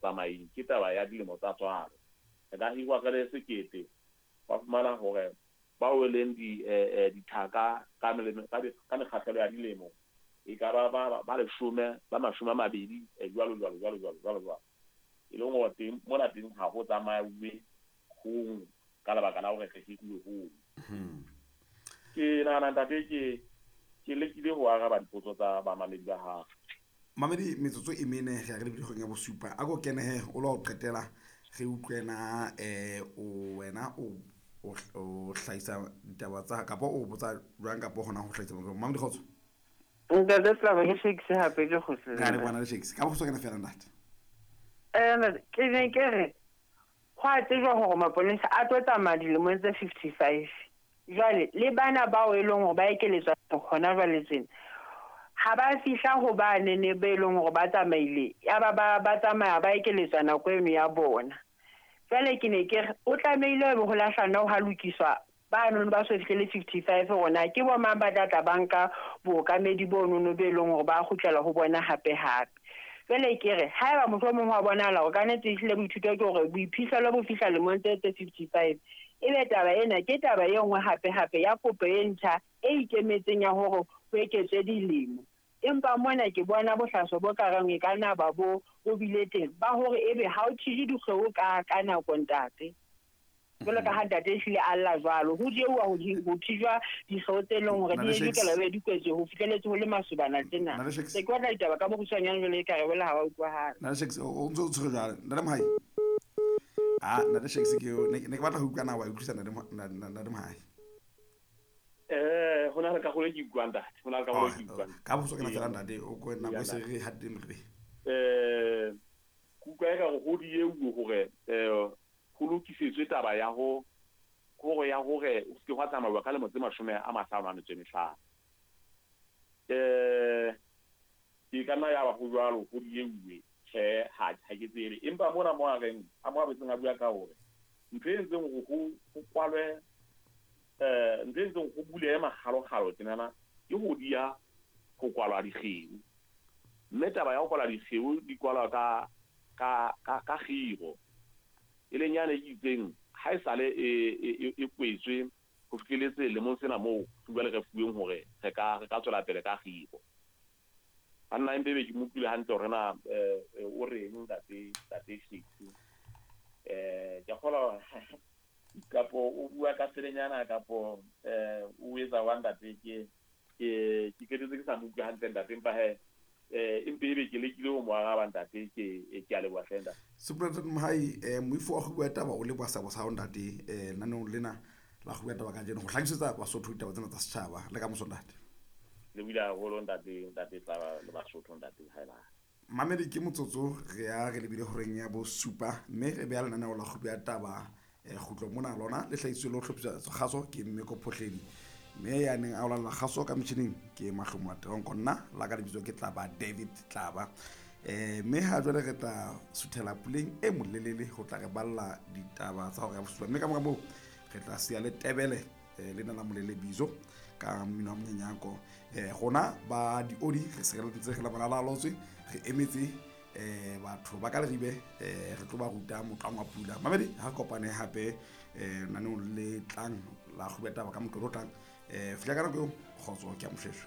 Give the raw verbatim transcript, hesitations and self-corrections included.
Tsamaeng ke taba ya dilemo tsa tswalo. Re ka hirwa re le sekete, wa fumana hore bao e leng di dithaka ka ka mekgahlelo ya dilemo e ka ba ba ba leshome, ba mashome a mabedi, jwalo jwalo jwalo jwalo jwalo jwalo. E leng hore teng mona teng ha ho tsamauwe hong ka lebaka la hore re hiruwe hong. Ke nahana ntate ke ke lekile ho araba dipotso tsa bamamedi ba hao. Mamedi, metsotso e mene re ya re lebile kgweng ya bosupa. A ko kenehe o lo qetela re utlwe na eh o wena o o hlahisa ditaba tsa kapa o botsa jwang kapa hona ho hlahisa Mamedi, kgotso. Ntate Tlaba, ke Shakes hape ke kgutlile. Re a leboha le Shakes. Ka bokgutshwane feela ntate. Eh ke ne ke re ho a tsejwa hore maponesa a tlo tsamaya dilemong tse fifty-five. Jwale le bana bao e leng hore ba ekeletswa hona jwale tsena ha ba fihla ho ba nene be leng hore ba tsamaile ya ba ba ba tsamaya ba ekeletswa nako eno ya bona. Jwale ke ne ke re o tlamehile ho lahlana ho lokiswa ba nono ba so fihlele fifty-five rona ke bo mang ba tla tla banka bookamedi bo nono be leng hore ba kgutlela ho bona hape hape. Jwale ke re haeba motho o mong wa bonahala hore ka nnete ehlile boithuto ke hore boiphihlelo bo fihla lemong tse tse fifty-five, ebe taba ena ke taba e nngwe hape hape ya kopo e ntjha e ikemetseng ya hore ho eketswe dilemo. Empa mona ke bona bohlaso bo ka reng e ka nna ba bo bo bile teng ba hore ebe ha o thije dikgeo ka ka nako ntate. Jwalo ka ha ntate ehlile a lla jwalo, ho dieuwa ho ho thijwa dikgeo tse leng hore di lokela be di kwetswe ho fihleletse ho le masobana tsena. Se ke batla ditaba ka bokgutshwanyane jwale e ka re wela ha wa utlwahala. Nna Shakes o ntse o tshwere jwale. Ntate Mohai. Ah, ntate Shakes ke ne ke batla ho utlwa na wa utlwisa ntate ntate Mohai. Eh hona le ka hole ke utlwang ntate, hona le ka hole ke utlwang. Ka bokgutshwane feela ntate o ko nako e se re hateng re. Eh kutlwa e ka re ho dieuwe hore eh ho lokisetswe taba ya ho hore ya hore o se ke hwa tsamauwa ka lemo tse mashome a mahlano a metso e mehlano. Eh ke ka nna ya ba ho jwalo ho dieuwe tjhe ha ha ke tsebe, empa mona mo a reng a mo a betseng a bua ka hore ntho e entseng hore ho ho kwalwe eh ntho e entseng ho bulehe makgalokgalo tjenana ke ho diya ho kwalwa dikgeo. Mme taba ya ho kwalwa dikgeo di kwalwa ka ka ka ka kgiro e leng yane e itseng ha e sale e e kwetswe ho fihleletse lemong sena moo jwale re fuweng hore re ka re ka tswela pele ka kgiro. Banna empe be ke mo utlwile hantle hore na o reng ntate ntate Shakes. Eh ke kgolwa kapo o bua ka selenyana kapo eh o etsa wa ntate ke ke ke qetetse ke sa mo utlwe hantle ntate, empa he eh empe ebe ke lekile ho mo araba ntate ke ke a leboha hle ntate. Superintendent Mohai, eh moifo wa go bua taba o leboha seabo sa hao ntate eh naneong lena la go bua taba kajeno go hlakisetsa Basotho ditaba tsena tsa setjhaba le ka moso ntate. Le buile haholo ntate ntate Tlaba le Basotho ntate haeba. Mamedi ke motsotso re ya re lebile horeng ya bosupa mme re beha lenaneo la go bua taba eh kgutlo mona lona le hlahisitswe le ho hlophiswa kgaso ke Mmeko Phohledi. Mme ya neng a olalla kgaso ka metjhining ke Mahlomo a Teronko, nna la ka lebitso ke Tlaba David Tlaba. Eh mme ha jwale re tla suthela puleng e molelele ho tla re balla ditaba tsa hora ya bosupa, mme ka mora moo re tla siya le Tebele lena la Molele Bizo ka mmino wa monyenyako. Eh rona ba diodi re sireletse re la bona la lotswe re emetse eh batho ba ka Leribe eh re tlo ba ruta motlwang wa pula. Mamedi ha kopane hape eh naneong le tlang la go bua taba ka moqoqo o tlang. Eh fihla ka nako eo, kgotso ke a moshweshwe.